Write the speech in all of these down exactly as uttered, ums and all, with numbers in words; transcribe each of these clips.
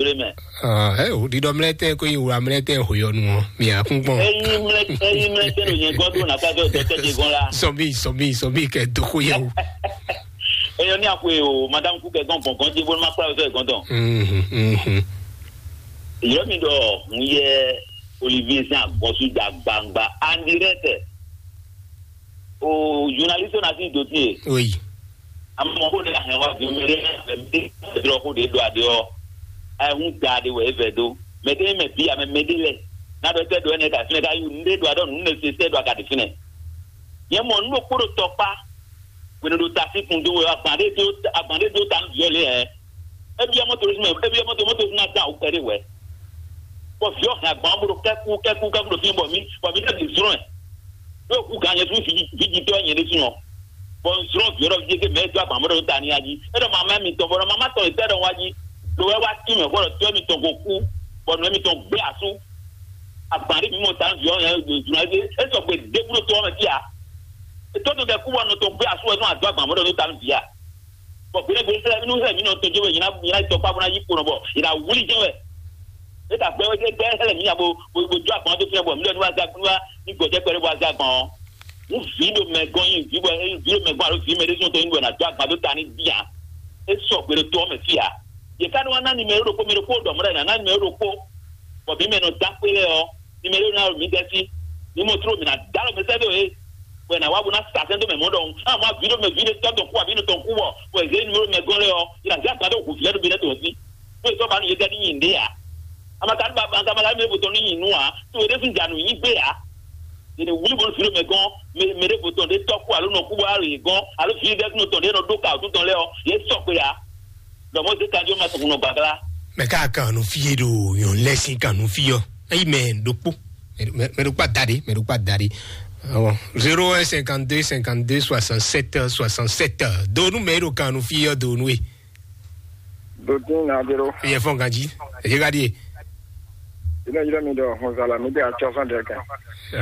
Jlé mɛ. Ah, ɛ o ɖiɖɔ mlɛtɛ ko yi wla mlɛtɛ hoyɔnu ɔ mi akún gbɔn. Eyi mlɛ eyi mlɛ tɛ ɖo nyɛ gɔdo na ka dɔ dɔ tɛ de gɔn la. Sɔmi sɔmi sɔmi kɛ doko yɛ o. Eyɔ ní akwe o madame kú kɛ gɔn gbɔn gɔn dzi bó ma kpla o sɛ gɔn dɔn. Mhm, mhm. Yɔ mi dɔ n yɛ Olivier sin agbɔsu da gbangba andirɛ tɛ. O journaliste na si dossier. Oui. Amɔ ko ɖe ahɛn wa vi mɛ ɖe mɛ ɖe drɔ ko ɖe ɖo aɖe ɔ. Ayɛ hun da aɖe wɛ evɛ do. Mɛ ɖe mɛ bi amɛ mɛ ɖe lɛ. Na ɖɔ tɛ ɖo ɛnɛ ka finɛ ka yu nu ɖe ɖo aɖɔ nu ne se sɛ ɖo aka ɖe finɛ. Yɛ mɔ nu ɖokpo ɖo tɔkpa. Wene ɖo tasi kun do wɛ agban ɖe do agban ɖe do ta nu viɔ le ɛ. Ebi ɔmɔ to mɛ ebi ɔmɔ to mɔto fún ata o kɛ ɖe wɛ. Bɔ viɔ hɛn agban bolo kɛku kɛku kɛku ɖo fi bɔ mi bɔ mi ɖe bi zrɔn ɛ. Ɖo ku gan nyɛ fún vijitɔ nyɛ ɖe fún ɔ. Bɔ n zrɔn viɔ ɖɔ vijɛ ke mɛ do agban bolo ta ni aji. E ɖɔ mama mi tɔn bɔ ɖɔ mama tɔn etɛ ɖɔ wa ji. Ɖo wɛ wa ti mɛ bɔ ɖɔ tɔ mi tɔn ko ku. Bɔ nɔ mi tɔn gbé asu. Agban ɖe mi mɔ ta nu viɔ nyɛ do zrɔn ɛ e sɔgbe ɖe kúrò tɔ mɛ fia. Etɔ to kɛ ku bɔ nɔ tɔn gbé asu wɛ nɔ ado agban bolo ta nu via. Bɔn gbeɖé gbeɖé sɛlɛ nínú sɛlɛ mǐ nɔ tɔjú wɛ yìí ná yìí ná tɔ kpá bó ná yí kpo nɔ bɔ yìí ná wlí jɛ́n wɛ. É ta gbɛ wɛ gbɛ sɛlɛ mǐ nya bo bo bo jó agbɔn dó fínɛ bɔ mǐ ɖɔ ní wá zá ní wá ní gbɔjɛ kpɛɖé bó wá zá gbɔn ɔ́. Nú vǐ ɖo mɛ gɔn nyi vǐ bɔ vǐ ɖo mɛ gɔn alo vǐ mɛ ɖé sɔn tó nyi bɔ ná jó agbɔn dó ta ní bíà. É sɔ gbe ɖo tó ɔ́ mɛ fí ǎ. Yě ká ní wá ná nimɛro ɖokpó mɛ ɖokpó ɖɔ mɔ̌ ɖɔ è nǎ ná nimɛro ɖokpó. Bɔ mǐ mɛ nɔ dó akpé lɛ́ɛ ɔ́, mi mɛ ɖó ná ɖo mǐ dɛ́ sí. Mi mɔ tló mǐ ná dó alɔ mɛ sɛ́ dó é, bɔ è nǎ wá bó ná sa sɛ́n dó mɛ mɔ̌ ɖɔhun. Á mɔ vǐ ɖo mɛ vǐ ɖé tɔ́ tɔn kú abǐ nɔ tɔn kú bɔ bɔ è zě numéro mɛ gɔ́n lɛ́ɛ ɔ́, è nǎ zé agba dó hu vǐ lɛ́ɛ ɖo mǐ lɛ́ɛ tɔn sí. Bó è sɔ́ ba nú yě tɛ́ ní nyi nǔɖé ǎ. Amatanu ba amatanu mɛ bó tɔn ní nyi nǔ ǎ, tó é ɖésú ja nǔ nyi gbé ǎ. Yě ɖe wlí bó vǐ ɖo mɛ gɔ́n, mɛ mɛ ɖé bó tɔn ɖé tɔ́ kú alo nɔ kú bó alo yě gɔ́n, alo vǐ ɖɛ́ nɔ tɔn ɖé nɔ ɖó ka wǔtú tɔn lɛ́ɛ ɔ́, yě sɔgbe ǎ. Lɔmɔ̌ zé kanjɔ ma sɔn nɔ gbàgbla. Mɛ ká kan nu fí e ɖo yɔn lɛ sin kan nu fí ɔ. Eyi mɛ ɖokpo. Mɛ ɖokpo ada ɖe, mɛ ɖokpo ada ɖe. Awɔ. Zéro un cinquante-deux cinquante-deux soixante-sept soixante-sept. Donu mɛ ɖo kan nu fí ɔ donu e. Dotin na dero. Yɛ fɔn ganji. Eye ka di e. Ina yira mi dɔ hɔnzala mi de atsɔ sɔn dɛ kan.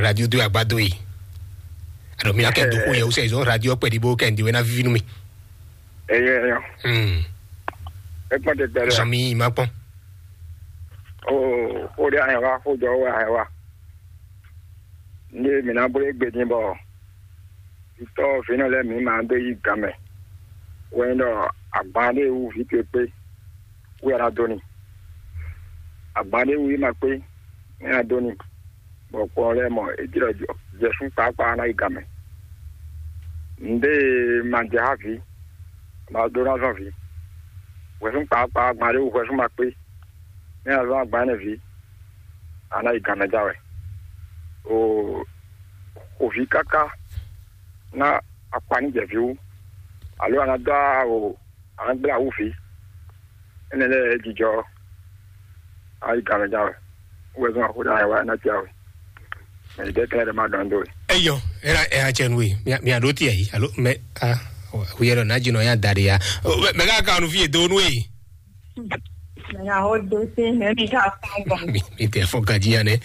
Radio do agbado yi. Alo mi akɛ do ko yɛ o sɛ zɔn radio pɛ di bo kɛ ndi wɛ na vivi nu mi. Eyɛ yɔ. Hmm. Ekpɔn te gbɛrɛ. Zɔmi ma kpɔn. O o de ahɛn wa o jɔ o ahɛn wa. Ní mi ná bó egbe dín bɔ vitɔ vínɔ lɛ mi ma dó yi gan mɛ. Wɛn ɖɔ agban ɖe wu vi towe kpé wɛ a dó ni. Agban ɖe wu yi ma kpé wɛ a dó ni. Bɔ kpɔn lɛ́ɛ mɔ é jlɔ jɔ jɛsún kpákpá ná yi gamɛ. Nǔɖé ma jɛ xá vǐ, ma ɖó ná zɔn vǐ. Hwɛsún kpákpá gban ɖé wú hwɛsún ma kpé, nɛ́ a zɔn agban énɛ́ vǐ, a ná yi gamɛ já wɛ. O xo vǐ káká ná akpa ní jɛ vǐ wú, alo a ná dó o a nɔ gblé awú vǐ. Énɛ́ lɛ́ɛ jijɔ ayi gamɛ ján wɛ. Wɛ zɔn axó ɖe ayɛ wá ná tia wɛ. Mɛ ɖe kɛlɛ ɖe ma dɔn do. Eyɔ, era era cɛ nu e. Mia mia ɖo tiɛ yi. Alo mɛ a. Wuyɛ lɔ na jinɔ ya da de ya. Mɛ ka ka nu fi do nu e. Mɛ ya ho do se mɛ mi ka fɔn gbɔn. Mi mi tɛ fɔ gaji ya nɛ.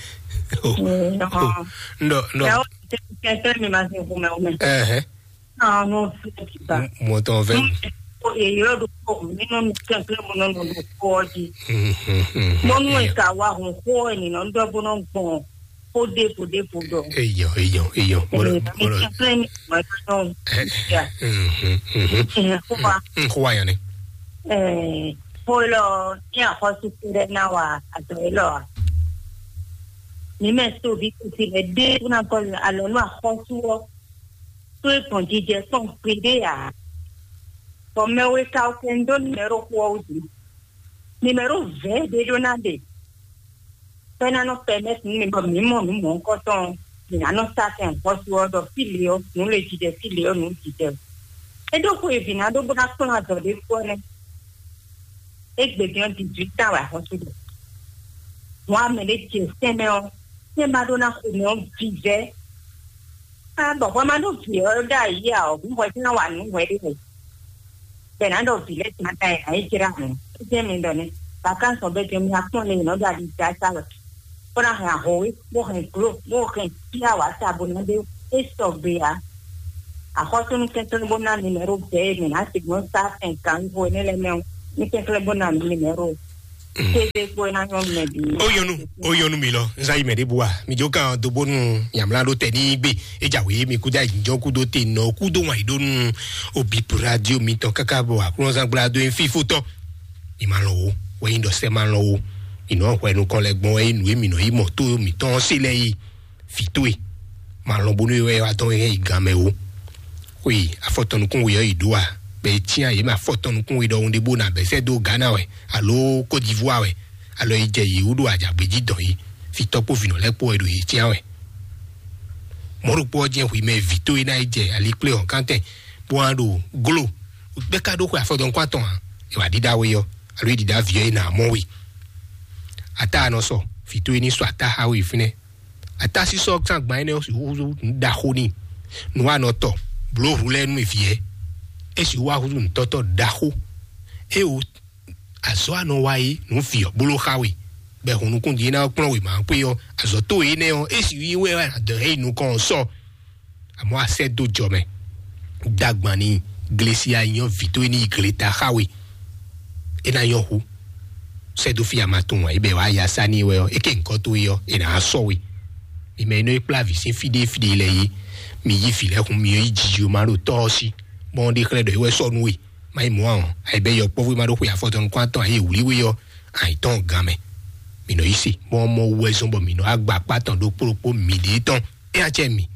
Ndɔ ndɔ. Kɛntɛ mi ma se kun mɛ o mɛ. Ɛhɛ. Ɔn, n'o fi ti ba. Mɔtɔn fɛ. Ko ye yɔrɔ do ko mi nɔ mi kɛkɛ mo nɔ nɔ do ko di. Mo nu e ka wa hɔn ko e ni nɔ dɔ bo nɔ gbɔn ko de ko de ko dɔ. Eyɔ eyɔ eyɔ. Mɔlɔ mɔlɔ. Kɛkɛ ni mo nɔ ya. Ko wa. Ko wa yan ni. Ɛɛ, ko lɔ ni axɔsu kɛɖɛ na wa adɔ yi lɔ wa. Mi mɛ so bi kusi lɛ de kuna kɔ alɔ nu axɔsu wɔ. To e gbɔn jijɛ kpɔn gbeɖé ǎ. Bɔ mɛ we ka kɛ ń dó nimɛro xó ɔ́ wú din. Nimɛro vɛ̌ ɖé ɖó ná ɖe. Bɔ é ná nɔ pɛmɛ́ti nú mi bɔ mǐ mɔ nǔ mɔ̌hunkɔtɔn, mǐ ná nɔ sá sɛn xɔ́sú ɔ́ ɖɔ fí lě ɔ́, nǔ le jijɛ fí lě ɔ́, nǔ jijɛ. É ɖó xwe e vǐ ná ɖó bó ná kplɔ́n azɔ̌ ɖé fú ɔ́ nɛ́. Égbé din ɔ́, dix-huit ans wɛ axɔ́sú ɖe. Hǔn a mɛ ɖé ce sɛn mɛ ɔ́, sɛn ma ɖó ná xo mɛ ɔ́ vívɛ́. Á bɔ hwɛ ma ɖó vǐ ɔ́ ɖó ayǐ ǎ ɔ́, hǔn hwɛ sín ná wa nǔ hwɛ ɖé hwɛ. Bɛ ná ɖɔ vǐ lɛ́ɛ tún ná ta ɛ ná yi jlá hǔn. É jẹ́ mi ɖɔ nɛ́. Vacances ɔ́ bɛ́ jɛ mi akpɔ́n lé nɔ ɖo ali da sa wɛ. Bó ná hɛn ahɔwé, bó hɛn glo, bó hɛn fíawa sa bó ná ɖé é sɔgbe ǎ. Axɔ́súnú kɛnklɛ́n bó ná mi mɛ ɖó bɛ̌ e mǐ ná sigbɔn sá fɛn kan wíwo énɛ́ lɛ́ɛ mɛ ɔ́, ní kɛnklɛ́n bó ná mi mɛ ɖó. Kéde kpó ná nyɔnu mɛ bí. Ó yɔnu, ó yɔnu mi lɔ, nza yi mɛ ɖé bua, mi jó kan do bónú yàmlá ɖó tɛ ní gbé, é jà wé mi kúdá ìjọ kúdó te nɔ kúdó wọn ìdónú òbí radio mi tɔ káká bɔ àkúrọ́nsá gbla dó fífó tɔ. Mi ma lɔ wo, wẹ́yìn dɔ sẹ́ ma lɔ wo, mi nɔ hwɛ nukɔn lɛ gbɔn wẹ́yìn nù mí nɔ yí mɔ tó mi tɔn sí lɛ yìí. Fitoe, ma lɔ bónú wɛ wá tɔn yɛ yi gan mɛ o. Xwe afɔtɔnukún we ɔ́ yi ɖó a? Bɛ cyɛn yě mɛ afɔtɔnukún we ɖɔhun ɖé bó na bɛ sɛ́ dó Ghana wɛ alo Côte d'Ivoire wɛ, alo yi jɛ yě wú ɖo adzǎgbéjí dɔn yi. Fitɔ kpó vinɔ lɛ́ kpó wɛ ɖo yě cyɛn wɛ. Mɔ̌ ɖokpó ɔ́ jẹ́ hwi mɛ vǐ tó e ná yi jɛ alikplé hɔ̌nkántɛn bó wá ɖo gló. Gbɛ́ ká ɖó xwe afɔtɔnukún atɔn ǎ, è wǎ ɖíɖá we ɔ́, alo é ɖíɖá vǐ ɔ́ é nà mɔ we. Ata anɔ sɔ, vǐ tó e ní sɔ ata xá we fínɛ́. Atasísɔ tán gban énɛ́ ɔ́ sixú húzú nǔ ɖaxó n'i. Nǔwanɔtɔ blǒ hu lɛ́ɛ nú vǐ ɛ. É sixú wá húzú nǔtɔ́tɔ́ ɖaxó. É wo azɔ̌ anɔ wa é nǔ vǐ ɔ́ bló xá we. Bɛ hun nukún din ná kplɔ́n wěma kpé ɔ́, azɔ̌ tó énɛ́ ɔ́, é sixú yí wɛ wɛ adɔ̌ é yi nukɔn ɔ́ sɔ. Àmọ́ a sɛ́ dó jɔ mɛ. Dagban ni glesi anyɔ vǐ tó é ní yi gleta xá we. É ná nyɔ́ hu. Sɛ́ dó fí a ma tunwun ǎ, é bɛ wǎ ya sá n'i wɛ ɔ́, é ké nyǐkɔ towe ɔ́, è nǎ sɔ́ we. Mi mɛ e nɔ e kplá vǐ sín fí ɖé fí ɖé lɛ́ɛ é, mi yí vǐ lɛ́ɛ hun mi yi jiji ma ɖo tɔ́ ɔ́ sí, bɔ ɔ́ ɖe xlɛ́ ɖɔ é wɛ sɔ́ nú we. Má yi mɔ̌ ǎ ɔ́, ayǐ bɛ́ yɔkpɔ́vú e ma ɖó xwe afɔtɔn nukún atɔn ayé wlí we ɔ́, ayǐ tɔn gan mɛ. Mi nɔ yí se, bɔ ɔ́ mɔ wú wɛ zɔ́n bɔ mi nɔ agba akpá tɔn ɖokpó ɖokpó mi ɖě tɔn. É acɛ mi.